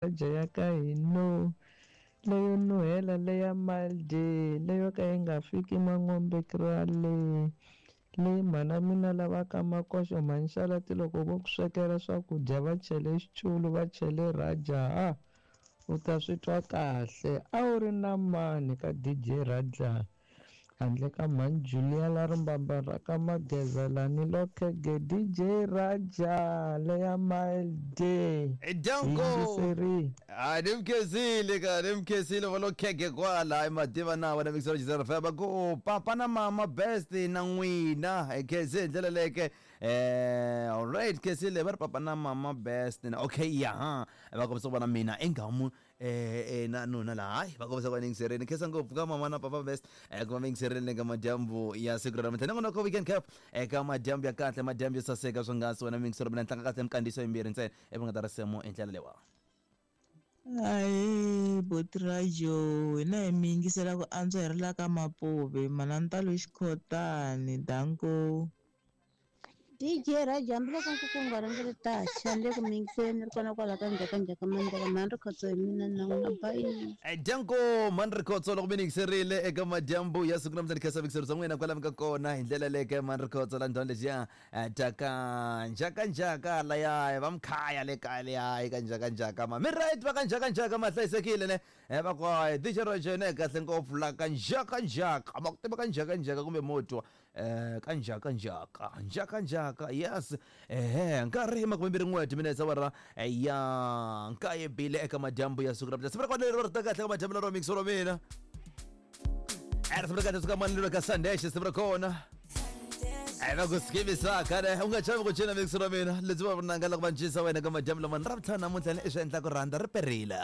Raja ya ka hina leyo nuhela leya Malde leyo ka yi nga fiki Mangombe Krale leyi mhana mina lava ka Makoxo Mhanxalati loko vo ku swekela swakudya va chele xiculu va chele Raja ha u ta swi twa kahle a wu ri na mani ka DJ Raja handle ka mhani Julia la rimbamba ra ka Mageza lani lokhege DJ Raja leya Malde Danko yingiseri hayi ni mkhensile ka ni mkhensile va lo khege kwala hayi mativa na wena mixer jizera feba ku papa na mama best na n'wina hi khense hi ndlela leke eh alright khensile va ri papa na mama best na okay ya ha va kombisa ku vona mina engamu eh na nuna la hayi va kombisa ku va ni yingiserile khensa ngopfu ka mama na papa best eh ku va mi yingiserile eka madyambu ya siku ra namuntlha nongonoko weekend cap eka madyambu ya kahle madyambu yo saseka swonghasi wena miyingiseri mina tlanga kahle minkandziyiso yimbirhi ntsena ivi nga ta risimu hi ndlela leyiwa. Ahee boti Rajo hina hi mi yingisela ku antswa hi ri la ka Mapuve Manantalo Xikhotani danko. DJ Raja hambiloko nkuku wu nga rhangeli taxa ni le ku mi yingiseleni ni ri kona kwala ka Njhakanjhaka Mandela mhani Rikhotso hi mina na n'wina bye. Danko mhani Rikhotso loko mi ni yingiserile eka madyambu ya siku namuntlha ni khensa vuyingiseri bya n'wina kwala mi nga kona hi ndlela leke mhani Rikhotso la ndhawini lexiya ta ka njhakanjhaka laya va mkhaya le kaya leya ka njhakanjhaka ma mi right va ka njhakanjhaka ma hlayisekile ne va ku hayi DJ Raja yena hi kahle ngopfu la ka njhakanjhaka ma ku tiva ka njhakanjhaka kumbe mo twa ka njhakanjhaka njhakanjhaka yes ehe nkarhi makumembirhi n'we timinetse awara ya nkaye bile eka madyambu ya siku ra siku ra kona leri ri ta kahle ka madyambu lero mixo ra mina risimu ra kahle suka mani ka Sunday siku ra kona va ku skivisaka ne u nga chavi ku cina mixo ra mina lebyi va vunanga loko va cinisa wena ka madyambu lama ni ra vutlhanu namuntlha ni i swi endla ku rhandza ri perile.